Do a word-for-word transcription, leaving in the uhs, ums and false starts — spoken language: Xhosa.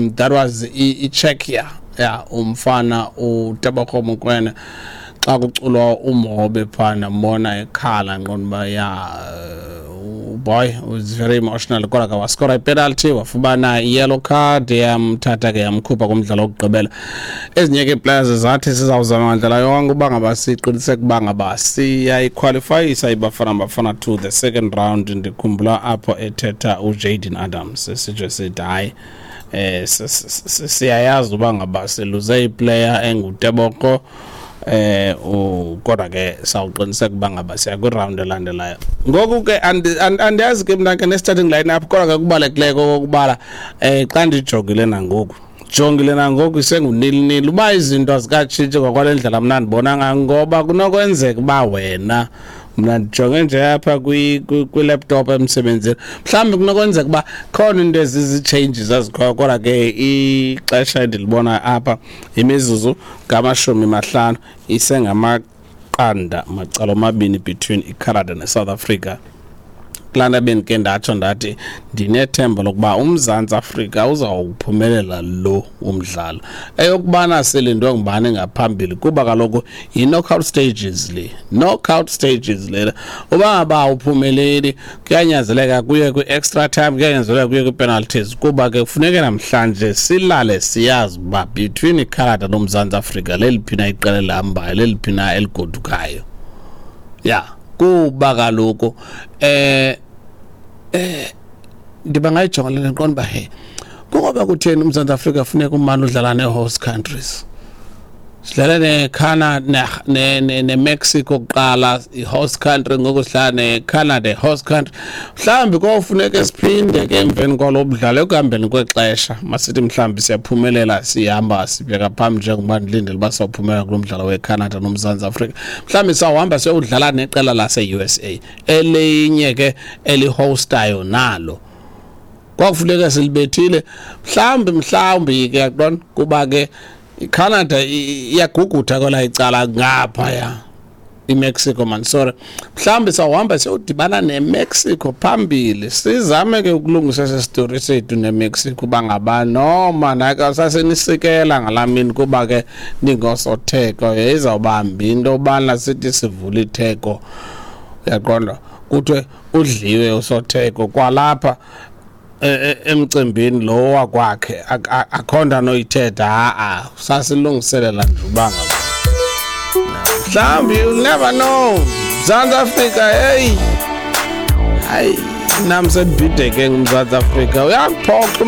That was iCzechia, ya, umfana uTebogo Mokoena, xa kuculwa umhobe phana, mbona ekhala, nqonda uba ya, boy was very emotional. Kodwa ke waskora ipenalty, wafumana i-yellow card, yamthatha ke yamkhupha kumdlalo wokugqibela. Ezinye ke players zathi sizawuzama ngandlela yonke uba ngaba siqiniseke uba ngaba siyayiqualifyisa iBafana Bafana to the second round. Ndikhumbula apho ethetha uJaden Adams, sitsho sithi hayi, eh siyayazi uba ngaba siluze iplayer enguTebogo, eh kodwa ke sawuqiniseka uba ngaba siya kwiround elandelayo. Ngoku ke andiyazi ke mna ke ne-starting line up, kodwa ke kubalulekileyo okokubala eh xa ndijongile nangoku, jongile nangoku, isengunil nil, uba izinto azikatshintshi ngokwale ndlela mna ndibona ngayo, ngoba kunokwenzeka uba wena, mna ndijonge nje apha kwi-laptop emsebenzini, mhlawumbi kunokwenzeka uba khona into ezizi-changes ezikhoyo. Kodwa ke ixesha endilibona apha, imizuzu ngamashumi mahlanu, isengamaqanda macala omabini between iCanada neSouth Africa. Kulaa nto bendike ndatsho ndathi ndinethemba lokuba uMzantsi Afrika uzawuphumelela lo umdlalo. Eyokubana silindwe ngubani ngaphambili, kuba kaloku yi-knockout stages le, knockout stages lena, uba ngaba awuphumeleli kuyanyanzeleka kuye kwi-extra time, kuyanyanzeleka kuye kwi-penalties, kuba ke kufuneke namhlanje silale siyazi uba between iCanada noMzantsi Afrika leliphi na iqela elihambayo, leliphi na eligodukayo. Ya, kuba kaloku eh eh ndiba ngayijonga le, ndiqonda uba he, kungoba kutheni uMzantsi Afrika funeka umane udlala nee-host countries? Sidlale neCanada neMexico kuqala, i-host country, ngoku sidlala neCanada, i-host country. Mhlawumbi kofuneke siphinde ke emveni kwalo mdlalo ekuhambeni kwexesha, masithi mhlawumbi siyaphumelela, sihamba sibheka phambili, njengoba ndilindele uba sawuphumelela kulo mdlalo weCanada noMzantsi Afrika, mhlawumbi sawuhamba siyowudlala neqela lase-U S A, elinye ke elihostayo nalo kwakufuneka silibethile mhlawumbi. Mhlawumbi ke, yaqonda, kuba ke iCanada iyagugutha kwela icala ngaphaya, iMexico man, sorry, mhlawumbi sawuhamba siyodibana neMexico phambili, sizame ke ukulungisa esi story sethu neMexico, uba ngaba noma nake sasenisikela ngalaa mini, kuba ke ningosotheko, izawubambi into yobana sithi sivula itheko, uyaqonda, kuthiwe udliwe usotheko kwalapha emcimbini lo wakwakhe, akho nto anoyithetha. Ha-a, sasilungiselela nje uba ngaba mhlawumbi, you'll never know. Mzantsi Afrika, hey, hayi, nam sendibhideke nguMzantsi Afrika, uyakuphoxa.